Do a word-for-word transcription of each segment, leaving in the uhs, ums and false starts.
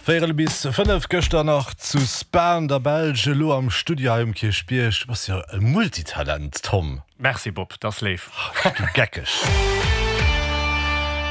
Véierel bis fënnef. Gëschter nach zu Spa an der Belsch, elo am Studio hei um Kierchbierg. Du bass jo e Multitalent, Tom. Merci Bob, dat ass léif. Ech gi geckeg.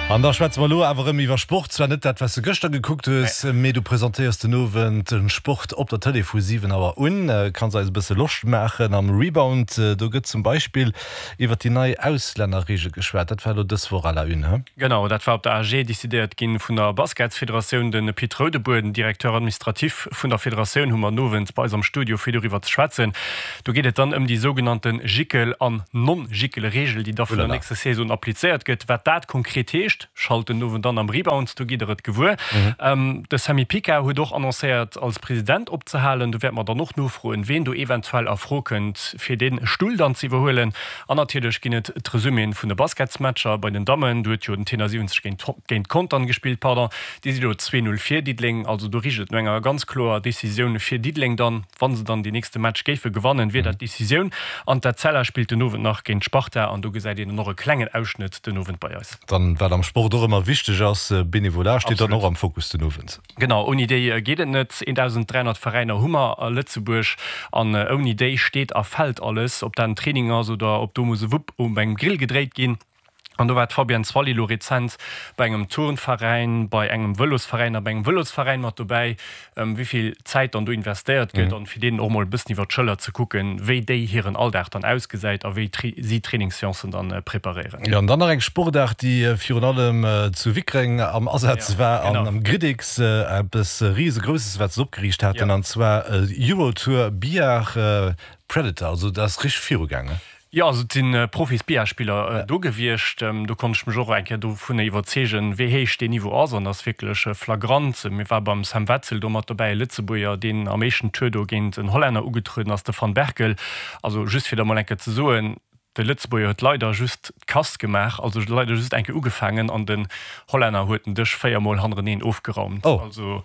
An da schwätze mer elo awer erëm iwwer Sport. Zwar net dat, wat s de gëschter gekuckt hues, mee du presentéiers den Owend de Sport op der Tëlee vu siwen Auer un. Kanns eis e bësse Loscht maachen am Rebound. Do gëtt zum Beispill iwwer déi nei Auslännerreegel geschwat. Dat war elo dës Woch à la une, he? Genau, dat war op der A G decidéiert ginn vun der Basketsfederatioun. De Pit Roudebour, den Directeur administratif vun der Federatioun, hu mer den Owend bei eis am Studio fir doriwwer ze schwätzen. Do geet et dann ëm déi sougenannte Jickel an Non-Jickel-Reegel, déi da vun der nächster Saison applizéiert gëtt. Wat dat konkret heescht, schalt den Owend dann am Rebound, do gitt der et gewuer. De Sammy Pica huet och annoncéiert, als President opzehalen. Do wäerte mer dann och nofroen, ween do eventuell a Fro kënnt, fir dee Stull dann ze iwwerhuelen. An natierlech ginn et d'Resuméen vun de Basketsmatcher bei den Dammen. Do huet jo den Tenor siwwenzeg géint géint Contern gespillt, pardon. Déi si lo zwee Null vir Diddeleng. Also do richt et no enger ganz kloer Decisioun fir Diddeleng dann. Wa se dann deen nächste Match géife gewannen, wier dat d'Decisioun. An d'Etzella spillt den Owend nach géint d'Sparta an do gesäit een dann och e klengen Ausschnëtt den Owend bei eis. Dann, wat am Sport och ëmmer wichteg ass, Benevolat steet dann och am Fokus den Owend. Genau, ouni déi geet et net. eentausend dräihonnert Veräiner hu mer a Lëtzebuerg an ouni déi steet a fält alles, ob dat en Training ass oder ob do muss e Wupp um engem Grill gedréit ginn. An do war d'Fabienne Zwally lo rezent bei engem Turnveräin, bei engem Vëlosveräin a bei engem Vëlosveräin mat dobäi, wéi vill Zäit dann do investéiert gëtt an fir deenen och mol e bëssen iwwer d'Schëller ze kucken, wéi déi hiren Alldag dann ausgesäit a wéi si Trainingsseancen dann preparéieren. Jo, an dann nach eng Sportaart, déi virun allem zu Wickreng am Asaz war an am Gridix, eppes Risegrousses, wat se opgeriicht haten, an zwar Eurotour Billard Predator. Also dat ass richteg virugaangen. Jo, also et si Profis-Billard-Spiller do gewiescht. Do konnt ech mech och eng Kéier dovunner iwwerzeegen, wéi héich deen Niveau ass. An dat ass wierklech flagrant. Mir war beim Sam Wetzel do mat dobäi, e Lëtzebuerger, deen am éischten Tour do géint en Hollänner ugetrueden ass, de Van Berkel. Also just fir der mol eng Kéier ze soen, de Lëtzebuerger huet leider just d'Kass gemaach, also leider just eng Kéier ugefaangen an den Hollänner huet den Dësch véier Mol hannereneen ofgeraumt. Also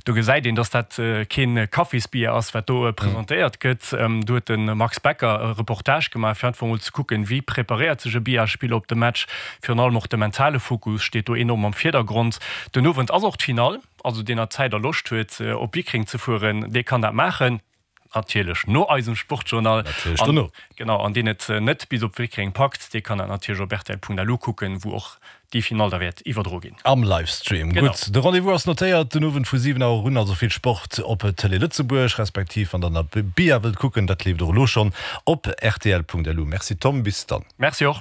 do gesäit een, dass dat keen Kaffisbier ass, wat do presentéiert gëtt. Do huet de Max Becker e Reportage gemaach, fir einfach emol ze kucken, wéi preparéiert sech e Billardspiller op de Match. Virun allem och de mentale Fokus steet do enorm am Virdergrond. Den Owend ass och d'Finall, also deen nach Zäit a Loscht huet, op Wickreng ze fueren, dee kann dat maachen. Natierlech no eisem Sportjournal. Natierlech dono. Genau, an deen et net bis op Wickreng packt, dee kann dat natierlech op rtl.lu kucken, wou och déi Finall da wäert iwwerdro ginn. Am Livestream. Genau. Gutt, de Rendez-vous ass notéiert, den Owend vu siwen Auer un, also vill Sport op Télé Lëtzebuerg, respektiv wann der nach Billard wëllt kucken, dat leeft och elo schonn op rtl.lu. Merci Tom, bis dann. Merci och.